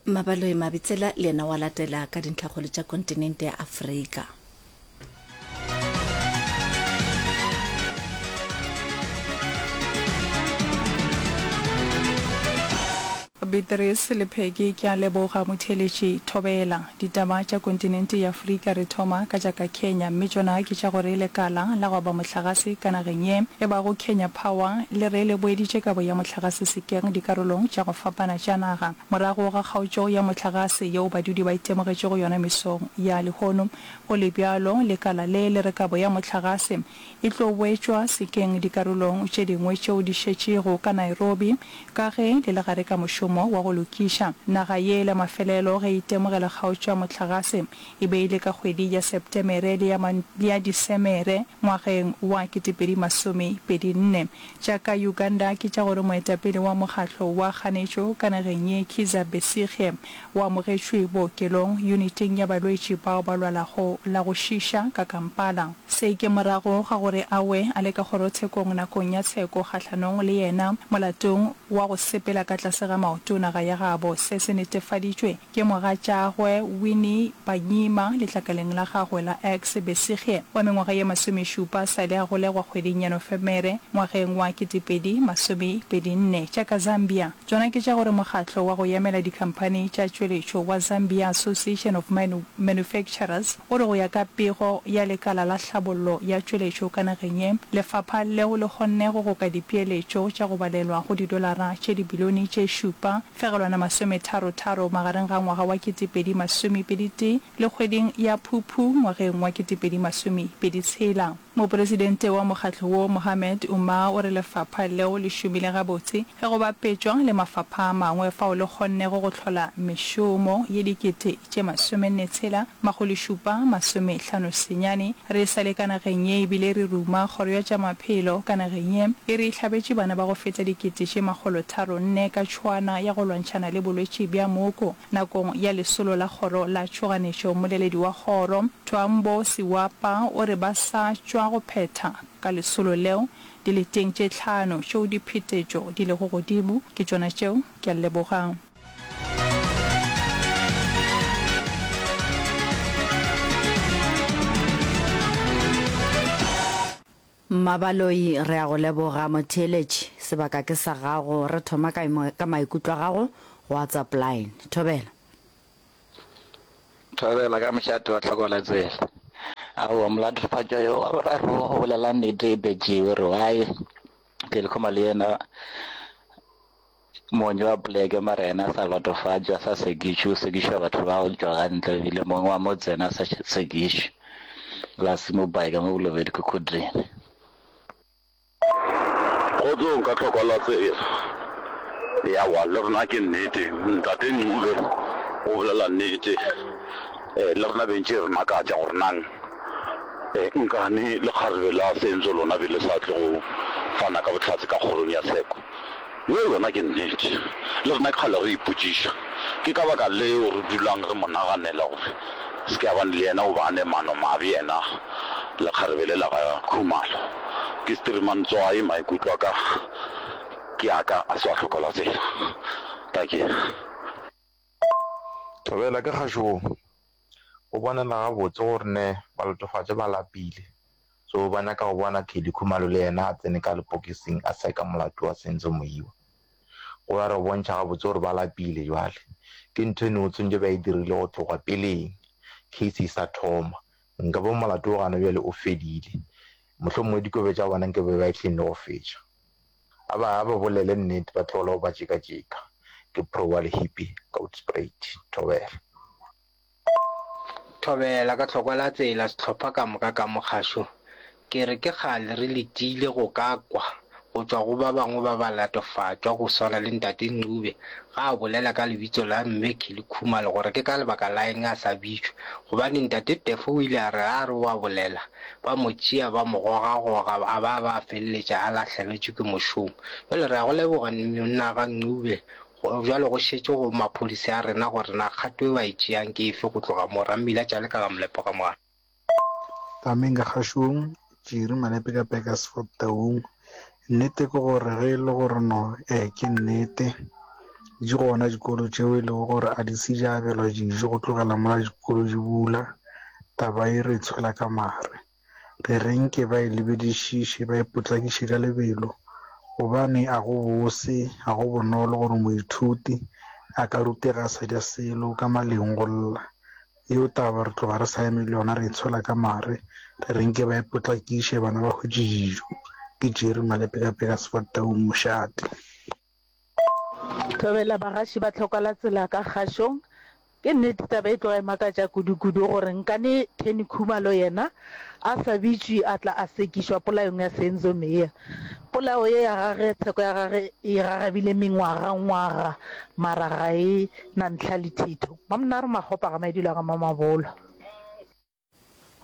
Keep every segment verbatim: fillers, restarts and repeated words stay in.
Mabaloi Mabitsela le yena wa latela ka dintlhakgolo tša kontinente ya Afrika. Beatrice le Peggy, Ke a leboga motheeletši. Thobela. Ditaba tša kontinente ya Afrika re thoma ka tša ka Kenya mme tšona ke tša gore lekala la go aba mohlagase ka nageng ye e bago Kenya Power le re le boeditše kabo ya mohlagase sekeng dikarolong tša go fapana tša naga morago ga kgaotšo ya mohlagase yeo badudi ba itemogetšego yona mesong ya lehono. Go le bjalo, lekala le le re kabo ya mohlagase e tlo boetšwa sekeng dikarolong tše dingwe tšeo di šetšego ka Nairobi ka ge le le gare ka mošomo wa go lokiša. Naga ye la mafelelo ge e itemogela kgaotšo ya mohlagase e be e le ka kgwedi ya Septemere le ya le ya Disemere ngwageng wa ketepedi masome pedi nne. Tša ka Uganda ke tša gore moetapele wa mokgatlo wa kganetšo ka nageng ye Kizza Besigye o amogetšwe bookelong yuniting ya balwetši bao ba lwalago la go šiša ka Kampala. Se ke morago ga gore a we a le ka kgorotshekong nakong ya tsheko kgahlanong le yena molatong wa go sepela ka tlase ga maoto naga ya gabo. Se se netefaditšwe ke mogatšagwe Winnie Byanyima letlakaleng la gagwe la X. Besigye wa mengwaga ye masomešupa sa le a golegwa kgweding ya Nofemere ngwageng wa ketepedi masomepedi nne. Tša ka Zambia tšona ke tša gore mokgatlo wa go emela dikhamphani tša tšweletšo wa Zambia Association of Manufacturers o re go ya ka pego ya lekala la hlabollo ya tšweletšo ka nageng ye, lefapha leo le kgonne go goka dipeeletšo tša go balelwa go didolara tše dibilione tše šupa fegelwana masometharo-tharo magareng ga ngwaga wa ketepedi masomepedi tee le kgweding ya Phuphu ngwageng wa ketepedi masomepedi tshela. Mopresidente wa mokgatlo wo, Mohammed Umar o re lefapha leo le šomile gabotse ge go bapetšwa le mafapha a mangwe fao le kgonnego go hlola mešomo ye dikete tše masomenne tshela makgolo šupa masome hlano senyane. Re sa le ka nageng ye ebile re ruma kgoro ya tša maphelo ka nageng ye e re e hlabetše bana ba go feta dikete tše makgolo tharo nne ka tšhwaana ya go lwantšhana le bolwetši bja mooko nakong ya lesolo la kgoro la tšhoganetšo. Mmoleledi wa kgoro, Twaambo Siwapa o re ba sa tšwa go phetha ka lesolo leo dileteng tše hlano tšeo diphetetšo di lego godimo. Ke tšona tšeo, ke a leboga. Mmabaloi, Re a go leboga motheeletši, sebaka ke sa gago. Re thoma ka, ka maikutlo a gago go WhatsApp line. Thobela. Thobela ka mošate wa tlhoko la tsela. Aowa molatofatšwa yo wa boraro o bolela nnete e betšiwe re why Kelly Khumalo le yena mong wa poleke mara yena a sa latofatšwa a sa sekišwe o sekišwa batho ba go tšwa ka ntle ebile mong wa motse yena a sa sekišwe la se mo bike mo Bolobedu Khukhudini. Kgotsong ka tlhoko la tsela. Yawa le rena ke nnete ntate Ncube o bolela nnete le rena bentše re makatša gore nang nkane lekgarebe la Senzo lona be le sa tle go fana ka bohlatse ka kgorong ya tsheko. Yeo yona ke nnete. Le rena ke kgale re ipotšiša. Ke ka baka leo re dulang re mo naganela gore se ke a bane le yena o ba a ne mano mabe yena lekgarebe le la ga Khumalo. Ke Streamantswai maikutlo a ka ke a ka a se wa hlokola tsela. Dankie. Thobela ke kgašong. Go bonala gabotse gore ne balatofatša ba lapile, so ba nyaka go bona Kelly Khumalo le yena a tsene ka lepokising a seka molato wa Senzo Moiwa. Go ya re bontšha gabotse gore ba lapile jwale. Ke ntho e nngwe tshwantše ba e dirile go tloga peleng case e sa thoma. Nka be molato wo gana bjale o fedile. Mohlomongwe dikobe tša bona nke be ba e hleng le go fetša. A ba, a ba bolele nnete ba tlogele go ba tšekatšeka. Ke pro wa lehipi ka Hoedspruit. Thobela. Thobela ka tlhokwa la tsela sehlopha ka moka ka mokgašo. Ke re ke kgale re letile go ka kwa go tšwa go ba bangwe ba balatofatšwa go swana le Ntate Ncube ga a bolela ka lebitso la Mme Kelly Khumalo gore ke ka lebaka la eng a sa bitšwe gobane Ntate Tefo o ile a re a re o a bolela ba mo tšea ba mo gogagoga a ba ba feleletša a lahlegetšwe ke mošomo. Bjale re a go leboga monna ga Ncube Go bjalo go šetše go maphodisa a rena gore na kgato e ba e tšeang ke efe go tloga mo, Rammila Tšale ka ga Molepo ga Moano. Tameng ka kgašong, Tširi Malepe ka Burgersfort Taung. Nnete ke gore ge e le gore no ee ke nnete Di gona dikolo tšeo e lego gore a di se di abelwa dijo go tlogela mola dikolo di bula. Taba ye re e tshwela ka mare. Re re nke ba e lebedišiše, ba e potlakiše ka lebelo, gobane a go bose, ga go bonolo gore moithuti a ka rutega a sa ja selo ka maleng go lla. Yeo taba re tloga re sa eme le yona, re e tshwela ka mare, re re nke ba e potlakiše, bana ba hwetše dijo. Ke Jerry Malepekapeka Sefatau, Mošate. Thobela bagaši ba tlhokalatsela ka kgašong. Ke nnete taba e tloga e makatša kudu-kudu gore nkane Kenny Khumalo yena a sa bitšwe a tla a sekišwa polayong ya Senzo Meyiwa. Polao ye ya gage, tsheko ya gage e gagabile mengwaga-ngwaga mara ga e na ntlha le thitho. Mamnaro Makgopa ga Maidilo a ga Mamabolo.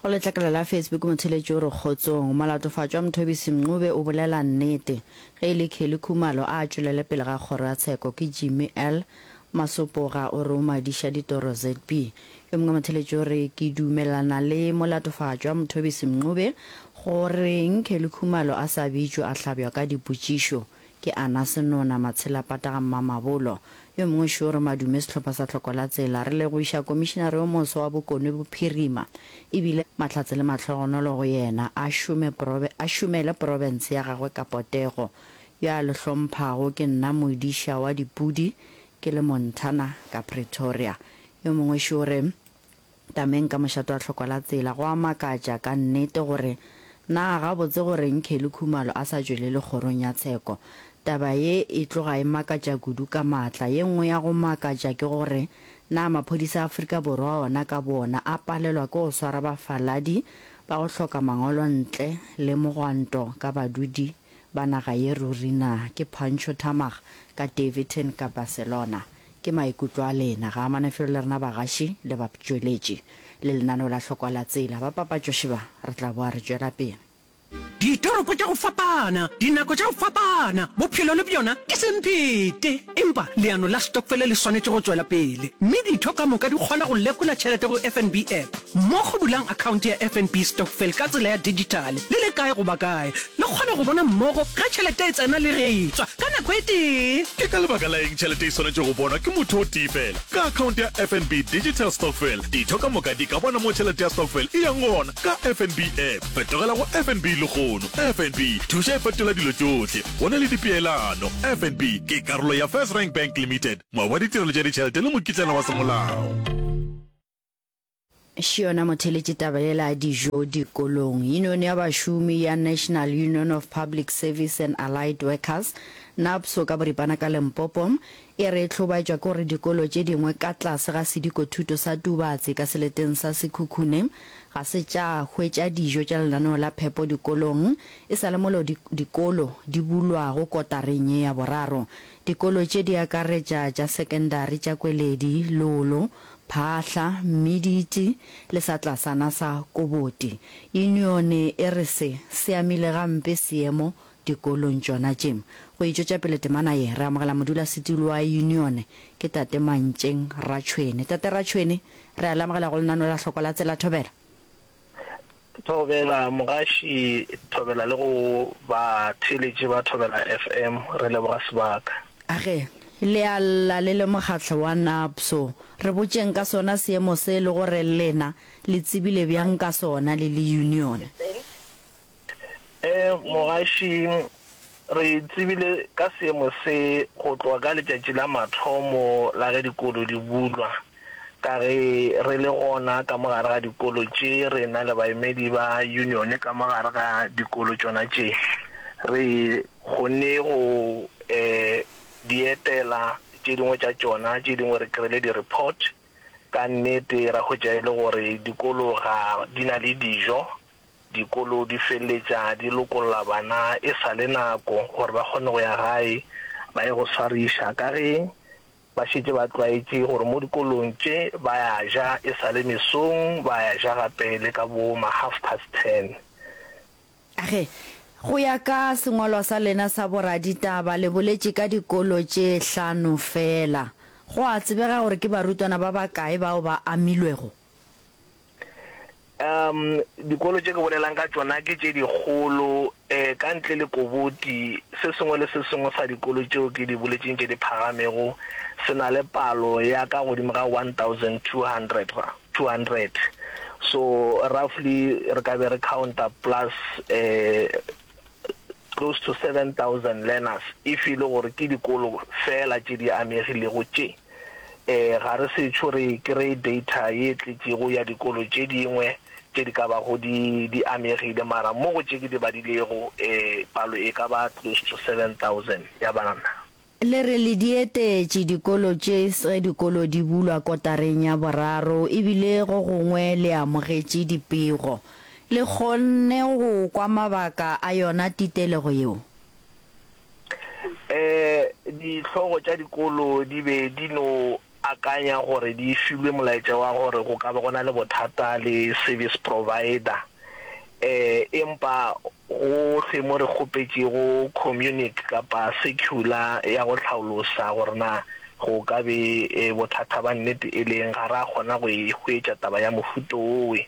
Go letlakala la Facebook motheeletši o re Kgotsong, molatofatšwa Mthobisi Mncube o bolela nnete. Ge e le Kelly Khumalo a a tšwelele pele ga kgoro ya tsheko ke Jimmy L. Masopoga o re o madiša ditoro ZB. Yo mongwe motheeletši o re Ke dumelana le molatofatšwa Mthobisi Mncube go reng Kelly Khumalo a sa bitšwe a hlabjwa ka dipotšišo Ke Anna Senona Matshelapata ga Mmamabolo. Yo mongwe šo re madume sehlopha sa Tlhoko la Tsela. Re lebogiša Komišinare yo moswa wa Bokone Bophirima e bile mahlatse le mahlogonolo go yena. A šome probe, a šomele profense ya gagwe ka potego. Yo a le hlomphago ke nna modiša wa dipudi ke le Montana ka Pretoria. Yo mongwe šo re. Tameng ka mošate wa tlhoko la tsela. Go a makatša ka nnete gore na gabotse go reng Kelly Khumalo a sa tšwelele kgorong ya tsheko. Taba ye e tloga e makatša kudu ka maatla. Ye nngwe ya go makatša ke gore na maphodisa a Afrika Borwa ona ka boona a palelwa ke go swara bafaladi ba go hloka mangwalo ntle le mogwanto ka badudi ba naga ye ruri na? Ke Pancho Thamag ka Daveyton ka Barcelona. Ke maikutlo a lena. Ga amane felo le rena bagaši le batšweletši le lenaneo la Hlokwa la Tsela. Ba papatšoši ba, re tla boa re tšwela pele. Ditoropo tša go fapana, dinako tša go fapana, bophelo le bjona ke semphete. Empa leano la stokfele le swanetše go tšwela pele, mme ditho ka moka di kgona go lekola tšhelete go F N B app. Mmogo bulang akhaonte ya F N B Stokvel ka tsela ya dijithale le le kae goba kae. Le kgona go bona mmogo ge tšhelete e tsena le ge e tšwa ka nako e tee. Ke ka lebaka la eng tšhelete e swanetše go bonwa ke motho o tee feela? Ka akhaonte ya F N B Digital Stokvel, ditho ka moka di ka bona mo tšhelete ya stokvel e yang gona ka F N B app. Fetogela go F N B lehono. F N B, thuša e fetola dilo tšohle. Go na le dipeelano. F N B ke karolo ya First Rank Bank Limited, moabi wa ditirelo tša ditšhelete le mokitlana wa semolao. Še yona motheeletši taba yela ya dijo dikolong. Yunione ya bašomi ya National Union of Public Service and Allied Workers, NUPSAW ka boripana ka Limpopo, e re e hlobaetšwa ke gore dikolo tše dingwe ka tlase ga sedikothuto sa Tubatse ka seleteng sa Sekhukhune ga se tša hwetša dijo tša lenaneo la phepo dikolong e sa le molo dikolo di bulwago kotareng ye ya boraro. Dikolo tše di akaretša tša sekendari tša Kweledi, Lolo, Phahla, Mmiditi le sa tlasana sa Koboti. Yunione e re se se amile gampe seemo dikolong tšona tše. Go e tšwetša pele temana ye, re amogela modulasetulo wa yunione ke Tate Mantšeng Ratšhwene. Tate Ratšhwene, re a le amogela go lenaneo la Hloko la Tsela. Thobela. Thobela mogaši, thobela le go batheeletši ba Thobela F M, re leboga sebaka. Age, le a lla le le mokgatlo wa NUPSAW. Re botšeng ka sona seemo se le gore lena le tsebile bjang ka sona le le union. E, mogaši, re tsebile ka seemo se go tloga ka letšatši la mathomo la ge dikolo di bulwa. Ka ge re le gona ka mo gare ga dikolo tše, re na le baemedi ba union ka mo gare ga dikolo tšona tše. Re kgonne go um di etela tše dingwe tša tšona, tše dingwe re kry-ile di-report. Ka nnete ra hwetša e le gore dikolo ga di na le dijo, dikolo di feleletša di lokolla bana e sa le nako gore ba kgone go ya gae ba ye go swariša, ka ge ba šetše ba tlwaetše gore mo dikolong tše ba ya ja e sa le mesong, ba ya ja gape le ka bo ma half past ten. Age, go ya ka sengwalwa sa lena sa boraditaba, le boletše ka dikolo tše hlano feela. Go a tsebega gore ke barutwana ba bakae bao ba amilwego? Um dikolo tše ke bolelang ka tšona ke tše dikgolo, um ka ntle le Koboti, se sengwe le se sengwe sa dikolo tšeo ke di boletšeng tše di phagamego se na le palo ya ka godimo ga one thousand two hundred, two hundred. So roughly re ka be re counta plus um close to seven thousand learners if e le gore ke dikolo feela tše di amegilego tše. E, ga re sešo re kreye data ye tletšego ya dikolo tše dingwe tše di ka bago di, di amegile, mara mo go tše ke di badilego, e, palo e ka ba close to seven thousand ya bana. Le re le di etetše dikolo tše ge dikolo di bulwa kotareng ya boraro e bile go gongwe le amogetše dipego. Le kgonne go kwa mabaka a yona titelego yeo? Ee, dihlogo tša dikolo di be di no akanya gore di filwe molaetša wa gore go ka ba go na le bothata le service provider. Ee, empa gohle mo re kgopetšego communic kapa circular ya go hlaolosa gore na go ka be bothata ba nnete e le eng, ga ra kgona go e hwetša taba ya mohuto wowe.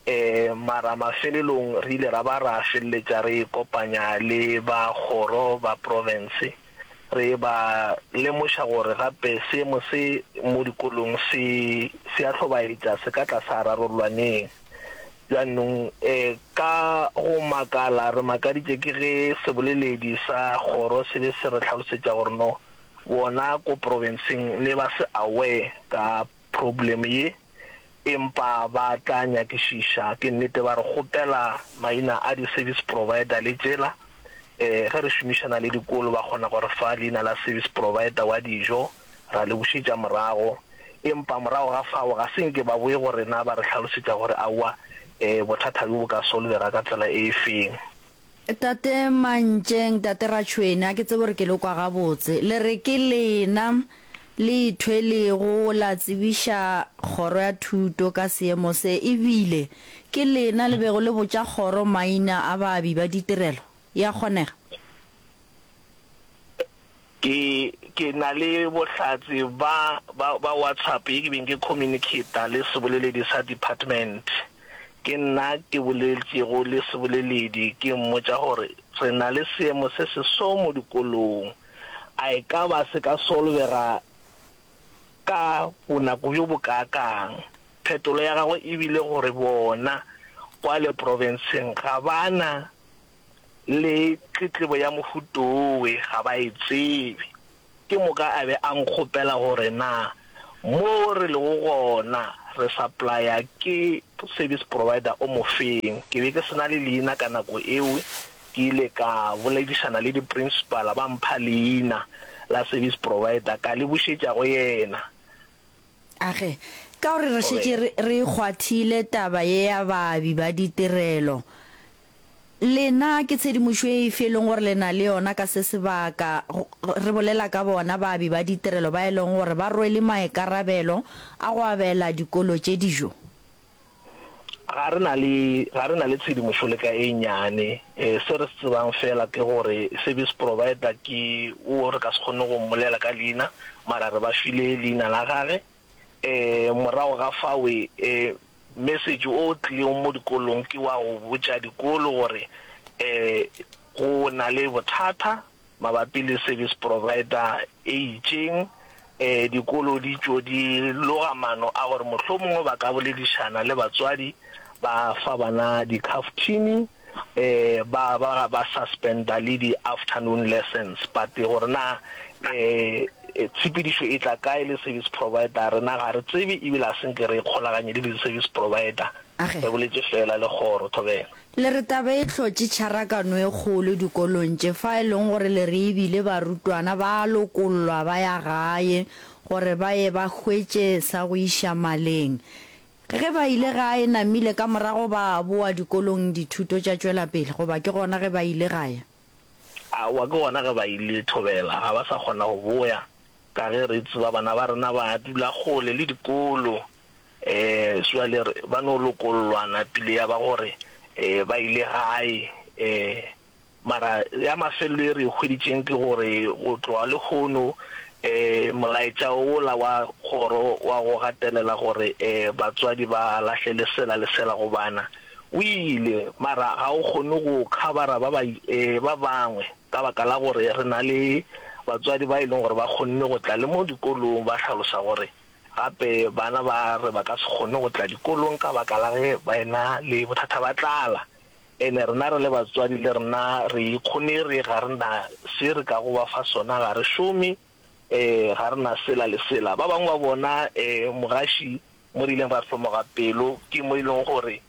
E, mara mafelelong re ile ra ba ra feleletša re ikopanya le ba kgoro ba profense, re ba lemoša gore gape seemo se mo dikolong se se a hlobaetša, se ka tla sa rarollwa neng. Bjanong, e, ka go makala re makaditše ke ge seboleledi sa kgoro se be se re hlalosetša gore no bona ko profenseng ne ba se aware ka problem ye. Empa ba tla nyakišiša. Ke nnete ba re kgopela maina a di service provider le tšela. Ge re šomišana le dikolo ba kgona go re fa leina la service provider wa dijo ra le bušetša morago. Empa morago ga fao ga se nke ba boe go rena ba re hlalosetša gore aowa bothata bjo bo ka solvega ka tsela e feng. Tate Mantšeng, Tate Ratšhwene, a ke tsebe gore ke le kwa gabotse. Le re ke lena le ithwelego la tsebiša Kgoro ya Thuto ka seemo se, e bile ke lena le bego le botša kgoro maina a baabi ba ditirelo. E a kgonega? Ke, ke na le bohlatse ba, ba, ba WhatsApp ye ke beng ke communicata le seboleledi sa department. Ke nna ke boletšego le seboleledi ke mmotša gore re na le seemo se se so mo dikolong. A e ka ba se ka solvega ka bonako bjo bokaakang? Phetolo ya gagwe e bile gore bona kwale profenseng ga ba na le tletlebo ya mohutowe, ga ba e tsebe. Ke moka a be a nkgopela gore na mo re lego gona re supplya ke service provider o mofeng. Ke be ke se na le leina ka nako eo, ke ile ka boledišana le di-principal ba mpha leina la service provider ka le bušetša go yena. Age, ka gore re šetše re, re e kgwathile taba ye ya baabi ba ditirelo, lena ke tshedimošo efe e leng gore le na le yona ka se sebaka, re bolela ka bona baabi ba ditirelo ba e leng gore ba rwele maikarabelo a go abela dikolo tše dijo? Ga re na le, ga re na le tshedimošo le ka e nnyane. Se re se tsebang feela ke gore service provider ke wo re ka se kgone go mmolela ka leina, mara re ba file leina la gage. Morago ga fawe, message o tlileng mo dikolong ke wa go botša dikolo gore go na le bothata Mabapi le service provider e itšeng, dikolo di tšo di loga maano a gore mohlomongwe ba ka boledišana le batswadi ba fa bana dikhaftini, ba ba ba suspenda le di afternoon lessons. But gore na tshepedišo e tla kae le service provider rena ga re tsebe ebile ga se nke re ikgolaganye le di service provider. Age. Re boletše feela le kgoro. Thobela. Le re taba e hlotše tšharakano e kgolo dikolong tše fa e leng gore le re e bile barutwana ba a lokollwa ba ya gae gore ba ye ba hwetše sa go iša maleng. Ge ba ile gae namile ka morago ba boa dikolong dithuto tša tšwela pele goba ke gona ge ba ile gae? Aowa ke gona ge ba ile Thobela ga ba sa kgona go boya ka ge re tseba bana ba rena ba dula kgole le dikolo. E, bjale re, ba no lokollwa napile ya ba gore e, ba ile gae. E, mara ya mafelelo e re e hweditšeng ke gore go tloga lehono Molaetša wola wa kgoro wa go gatelela gore batswadi ba lahlele sela le sela go bana o ile, mara ga o kgone go khabara ba ba bangwe ka baka la gore re na le batswadi ba e leng gore ba kgonne go tla le mo dikolong ba hlalosa gore gape bana ba re ba ka se kgone go tla dikolong ka baka la ge ba ena le bothata ba tlala. Ene rena re le batswadi le rena re ikgonere, ga re na se re kago ba fa sona, ga re šome, ga re na sela le sela. Ba bangwe ba bona mogaši mo re ileng ra hlomoga pelo ke mo e leng gore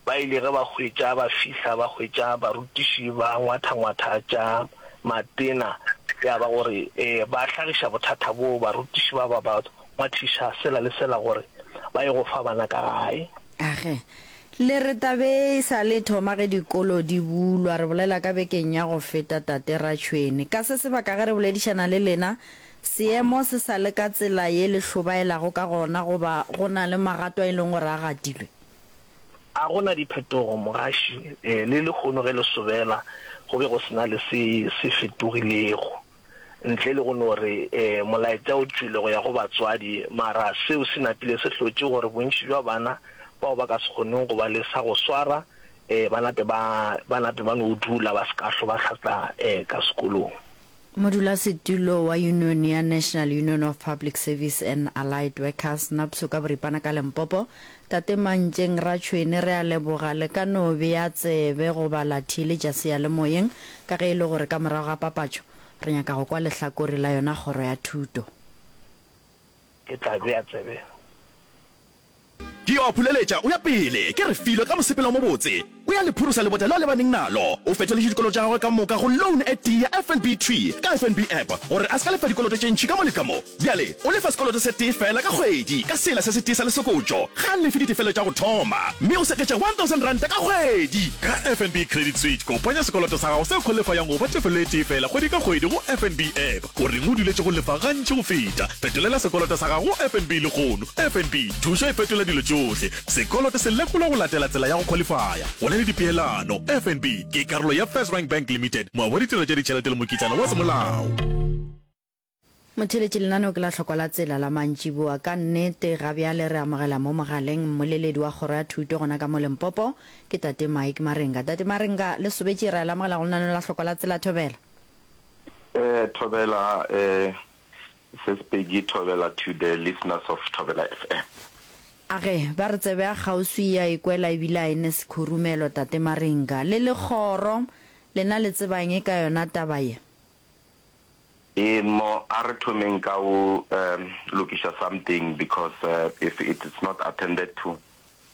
ba ile ge ba hwetša ba fihla ba hwetša barutiši ba ngwathangwatha tša matena, ya ba gore ba hlagiša bothata boo, barutiši ba ba ba ngwathiša sela le sela gore ba ye go fa bana ka gae. Age, le re tabe e sa le thoma ge dikolo di bulwa, re bolela ka bekeng ya go feta Tate Ratšhwene. Ka se sebaka ge re boledišana le lena, seemo se sa le ka tsela ye le hlobaelago ka gona goba go na le magato a e leng gore a gatilwe? A go na diphetogo, mogaši, le lehono ge le sobela go be go se na le se se fetogilego. Ntle le go no re molaetša o tšwele go ya go batswadi, mara seo se napile se hlotše gore bontši bja bana bao ba ka se kgoneng go ba le sa go swara ba nape ba ba nape ba no dula ba se ka hlo ba hlatla ka sekolong. Modulasetulo wa yunione ya National Union of Public Service and Allied Workers, NUPSU, ka boripana ka Limpopo, Tate Mantšeng Ratšhwene, re a leboga le ka no bea tsebe goba la theeletša seyalemoyeng ka ge e le gore ka morago ga papatšo Re nyaka go kwa lehlakore la yona kgoro ya thuto. Ke tla bea tsebe. Ke yo a phuleletša o ya pele, ke Refilwe ka mosepelo o mobotse. O ya le phurusa lebota leo a lebaneng nalo. O fetoletše dikoloto tša gagwe ka moka go loan e tee ya F N B thwi ka F N B app gore a se ka lefa dikoloto tše ntši ka mo le ka mo. Bjale o lefa sekoloto se tee feela ka kgwedi ka sela se setee sa lesokotšo. Ga a lefe ditefelo tša go thoma mme o seketša one thousand ranta ka kgwedi. Ka F N B Credit Switch, kopanya sekoloto sa gago se khwalifayang go ba tefelo e tee feela kgwedi ka kgwedi go F N B app. O reng o duletše go lefa gantši go feta? Fetolela sekoloto sa gago go F N B lehono. F N B, thušo e fetola dilo tšohle. Sekoloto se lekolwa go latela tsela ya go khwalifaya. Go na le dipeelano. F N B ke karolo ya FirstRand Bank Limited, moabi wa ditirelo tša ditšhelete le mokitlana wa semolao. Motheeletši, lenaneo ke la Hlokwa la Tsela la mantšiboa. Ka nnete, ga bjale re amogela mo mogaleng mmoleledi wa Kgoro ya Thuto gona ka mo Limpopo, ke Tate Mike Marenga. Tate Marenga, le sobetše, re a le amogela go lenaneo la Hlokwa la Tsela. Thobela. Eh, Thobela, eh, Sis Peggy, Thobela to the listeners of Thobela F M. A ge, ba re tsebe ya kgauswi e a ikwela ebile a e ne sekhurumelo, Tate Marenga. Le le kgoro, lena le tseba eng ka yona taba ye? Ee mo a re thomeng ka o lokiša something because if it is not attended to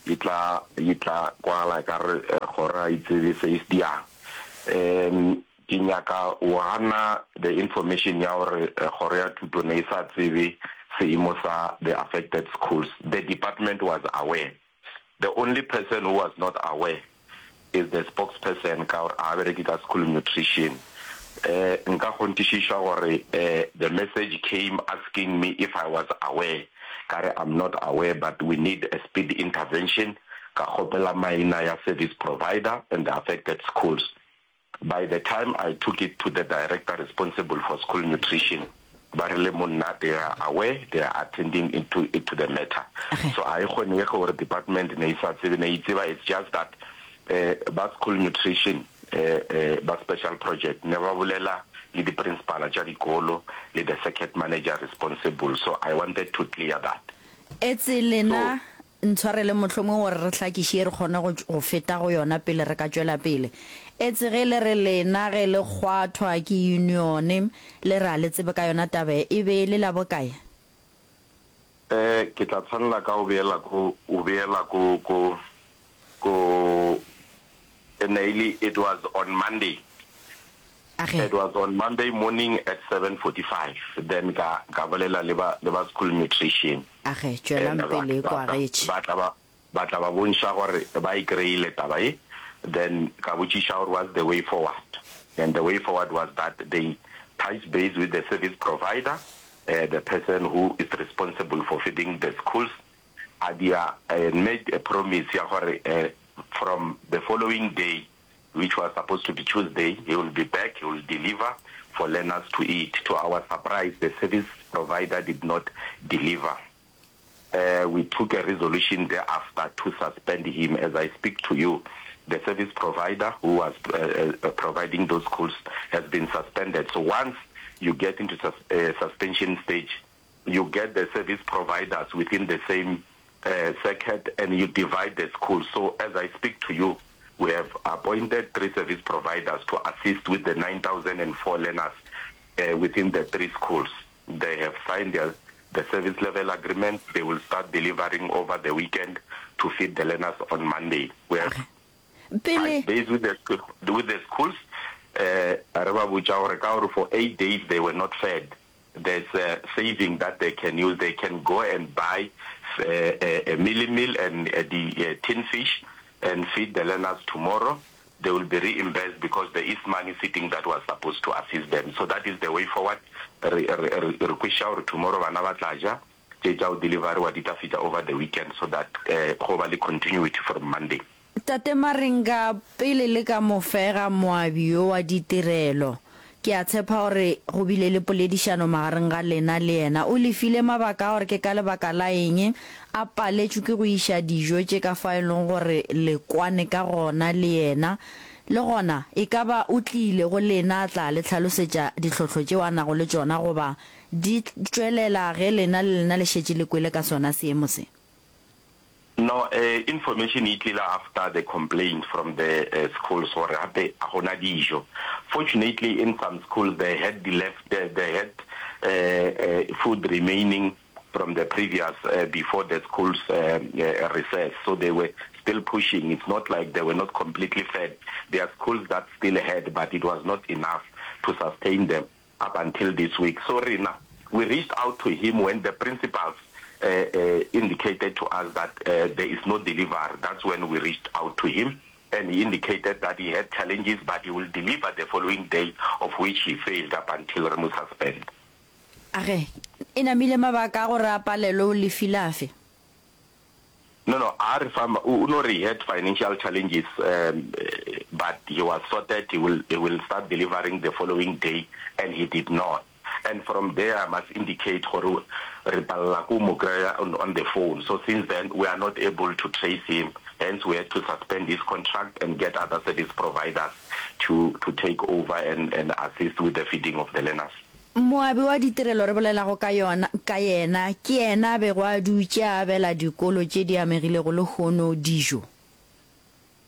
yi tla yi tla kwagala ekare kgoro ga e tsebe se e se diyang. Ke nyaka o gana the information ya gore kgoro ya thuto ne e sa tsebe seemo sa the affected schools. The department was aware. The only person who was not aware is the spokesperson ka gore ga a bereke ka school nutrition. Eh, nka kgonthišiša gore eh, the message came asking me if I was aware, ka re I'm not aware but we need a speed intervention, ka kgopela maina ya service provider and the affected schools. By the time I took it to the director responsible for school nutrition, ba rile monna they are aware, they are attending into to the matter. So ga e kgonege gore department ne e sa tsebe, ne e tseba, it's just that eh, ba school nutrition eh, eh, ba special project ne ba bolela le di-principala tša dikolo le the circuit manager responsible, so I wanted to clear that. Etse lena ntshwarele mohlomongwe gore re hlakiše ye re kgone go, go feta go yona pele re ka tšwela pele. Etse ge le re lena ge le kgwathwa ke unione le re a le tsebe ka yona taba ye, e be e le la bokae? Eh, ke tla tshwanela ka go beela ko, go beela ko, ko, ko, e ne e le, it was on Monday. Age. It was on Monday morning at seven forty five, then ka, ka bolela le ba, le ba school nutrition. Age, tšwelang And ba, pele ba kwa tla, getše. ba tla ba, ba tla ba bontšha gore ba e kry-ile taba e, then ka botšiša gore what's the way forward, and the way forward was that they touch base with the service provider, uh, the person who is responsible for feeding the schools, a dia and made a promise ya gore uh, from the following day, which was supposed to be Tuesday, he will be back, he will deliver for learners to eat. To our surprise, the service provider did not deliver. Uh, we took a resolution thereafter to suspend him. As I speak to you, the service provider who was uh, uh, providing those schools has been suspended. So once you get into sus uh, suspension stage, you get the service providers within the same uh, circuit and you divide the schools. So as I speak to you, we have appointed three service providers to assist with the nine thousand and four learners uh, within the three schools. They have signed their, the service level agreement. They will start delivering over the weekend to feed the learners on Monday. We have Pele. touched base with the, with the schools. Uh, re ba botša gore ka gore for eight days they were not fed. There's a saving that they can use. They can go and buy uh, a, a mealie meal and uh, the uh, tin fish and feed the learners tomorrow. They will be reimbursed because there is money sitting that was supposed to assist them. So that is the way forward. Re re re re kwešiša gore tomorrow bana ba tla ja, tše tša go deliveriwa di tla fihla over the weekend so that uh, go ba le continuity from Monday. Tate Maringa, pele le ka mo fega moabi yo wa ditirelo, ke a tshepa gore go bile le poledišano magareng ga lena le yena. O le file mabaka a gore ke ka lebaka la eng a paletšwe ke go iša dijo tše ka fao e leng gore le kwane ka gona le yena. Le gona, e ka ba o tlile go lena a tla le hlalosetša ditlhohlo tšeo a nago le tšona goba di tšwelela ge lena le lena le šetše le kwele ka sona seemo se. No, eh, information e tlile after the complaint from the eh, schools gore gape a gona dijo. Fortunately in some schools they had the left, they, they had eh, eh, food remaining from the previous eh, before the schools eh, eh, recess, so they were still pushing. It's not like they were not completely fed. There are schools that still had, but it was not enough to sustain them up until this week. So rena, we reached out to him when the principals uh, uh, indicated to us that uh, there is no delivery. That's when we reached out to him, and he indicated that he had challenges, but he will deliver the following day, of which he failed up until re mo suspend. A ge, e namile mabaka a gore a palelwe o lefile afe? No, no, a re fa, o no re he had financial challenges, um, but he was sorted, he will, he will start delivering the following day, and he did not. And from there, I must indicate gore re palela ko mo kry-a on, on the phone. So since then, we are not able to trace him. Hence, we had to suspend his contract and get other service providers to, to take over and, and assist with the feeding of the learners. Moabi wa ditirelo re bolelago ka yona, ka yena, ke yena a bego a dutše a abela dikolo tše di amegilego lehono dijo.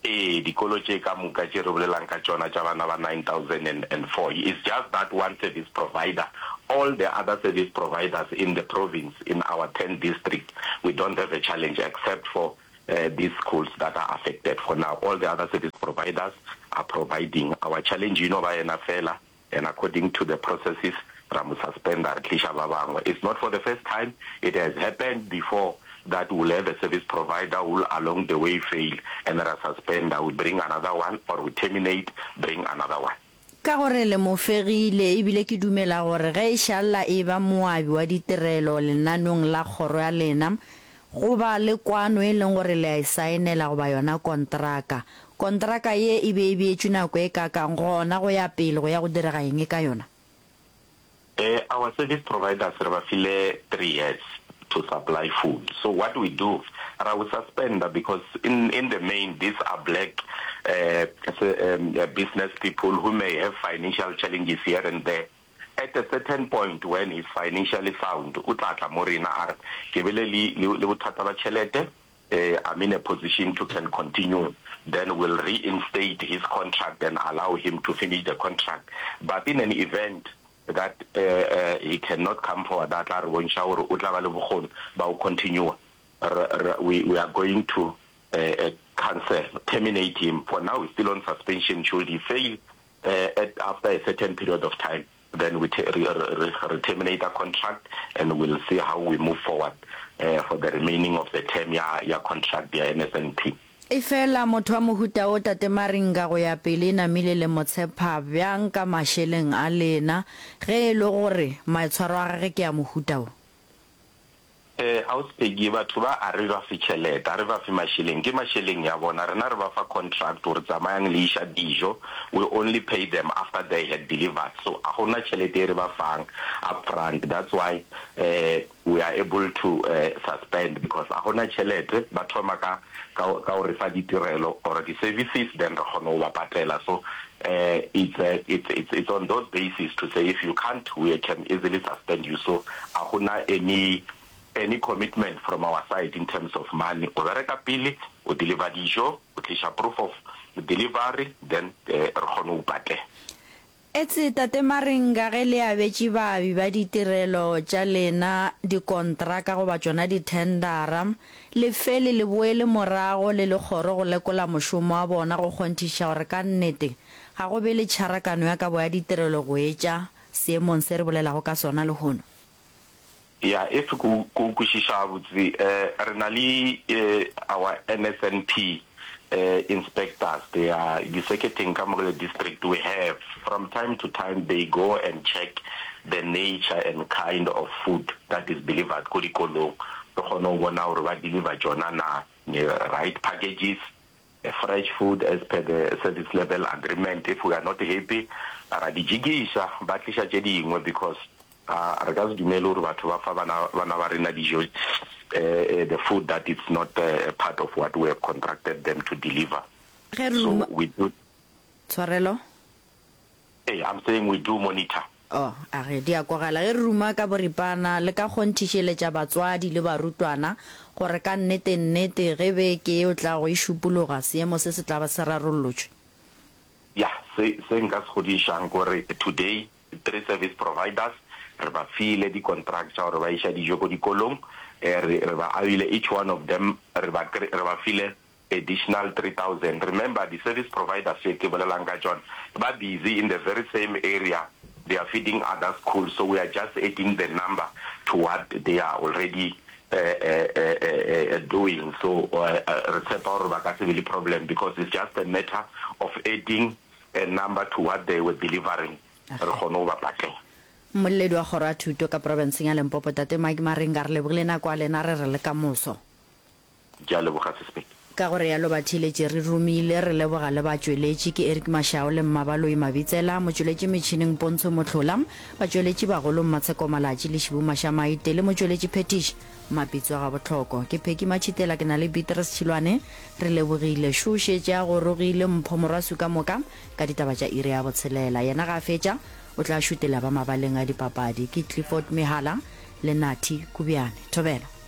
Ee, dikolo tše ka moka tše re bolelang ka tšona tša bana ba nine thousand and four, it's just that one service provider. All the other service providers in the province, in our ten districts, we don't have a challenge except for these schools that are affected for now. All the other service providers are providing. Our challenge e no ba yena fela, and according to the processes, ra mo suspenda, re tliša ba bangwe. It's not for the first time, it has happened before that we'll have a service provider who will along the way fail and ra suspenda, we bring another one or we terminate, bring another one. Ka gore le mo fegile, e bile ke dumela gore ge e šalla e eba moabi wa ditirelo lenanong la kgoro ya lena, go ba le kwano e leng gore le a e saenela goba yona kontraka. Kontraka ye e be e beetšwe nako e kakang, gona go ya pele go ya go direga eng ka yona? Eh, our service providers re ba file three years to supply food. So what we do, ra o suspenda because in, in the main these are black eh, um, business people who may have financial challenges here and there. At a certain point when he's financially sound, o tla tla mo rena a re, ke bile le, le, le bothata ba tšhelete, eh, I'm in a position to can continue, then we'll reinstate his contract and allow him to finish the contract. But in an event that eh, he cannot come forward a tla re bontšha gore o tla ba le bokgoni ba go continue, re, re, we, we are going to eh, cancel, terminate him. For now he's still on suspension, should he fail eh, at, after a certain period of time, then we, te, re, re, re terminate a contract and we'll see how we move forward eh, for the remaining of the term ya, ya contract ya N S N P. Efela motho wa mohuta wo Tate Maringa go ya pele e namile le mo tshepa bjang ka mašeleng a lena ge e le gore maitshwaro a gage ke a mohuta wo? Eh, Ausi Peggy, batho ba a re ba fe tšhelete, a re ba fe mašeleng, ke mašeleng ya bona, rena re ba fa contract gore tsamayang le iša dijo, we only pay them after they had delivered, so a gona tšhelete e re ba fang up front, that's why eh we are able to eh suspend because a gona tšhelete, ba thoma ka ka ka go re fa ditirelo or di services then re kgone go ba patela, so eh it's it's it's it's on those basis to say if you can't we can easily suspend you, so a gona any any commitment from our side in terms of money, o bereka pele o deliver dijo, o tliša proof of delivery then re kgone go patela. Etse Tate Maringa ge le abetše baabi ba ditirelo tša lena dikontraka goba tšona dithendara, le fele le boele morago le le kgoro go lekola mošomo wa bona go kgonthiša gore ka nnete ga go be le tšharakano ya kabo ya ditirelo go etša seemong se re bolelago ka sona lehono. Ya, if ke o ke o kwešiša gabotse, re na le our N S N P inspectors, they are di-circuit-eng ka mo le district, we have, from time to time they go and check the nature and kind of food that is delivered ko dikolong, re kgone go bona gore ba deliver tšona na, the right packages, fresh food as per the service level agreement. If we are not happy, ra di jikiša, ba tliša tše dingwe because a re ka se dumele gore batho ba fa bana bana ba rena dijo the food that is not part of what we have contracted them to deliver. Ge re So ruma we do. Tshwarelo? Ee, I'm saying we do monitor. Oh, a ge, di a kwagala. Ge re ruma ka boripana, le ka kgonthišeletša batswadi le barutwana gore ka nnete-nnete ge beke yeo tlago e šupologa, seemo se se tla ba se rarollotšwe. Ya, se, se nka se kgodišang ke gore today three service providers re ba file di-contract tša gore ba iša dijo ko dikolong, eh, re, re ba abile each one of them re ba, re ba file additional three thousand. Remember di-service providers tše ke bolelang ka tšona ba busy in the very same area, they are feeding other schools, so we are just adding the number to what they are already doing. So re tshepa gore ba ka se be le problem because it's just a matter of adding a number to what they were delivering, re kgone go ba patela. Mmoleledi wa Kgoro ya Thuto ka profenseng ya Limpopo Tate Mike Maringa, re lebogile nako ya lena, re re le ka moso. Ke a leboga Sis Peggy. Ka go realo batheeletši re romile, re leboga le batšweletši ke Eric Mashao le Mmabaloi Mabitsela, motšweletši metšhineng Pontsho Mohlola, batšweletši bagolo Mmatsheko Malatši le Šibu Mašamaite le motšweletši phethiši Mapitso Gabohloko. Ke Peggy Matšhitela ke na le Beatrice Tšhilwane, re lebogile. Šo šetše a gorogile Mpho Morwasu ka moka ka ditaba tša iri ya botshelela. Yena ga a fetša o tla šutela ba mabaleng a dipapadi ke Clifford Mehala le Nathi Kubjane. Thobela.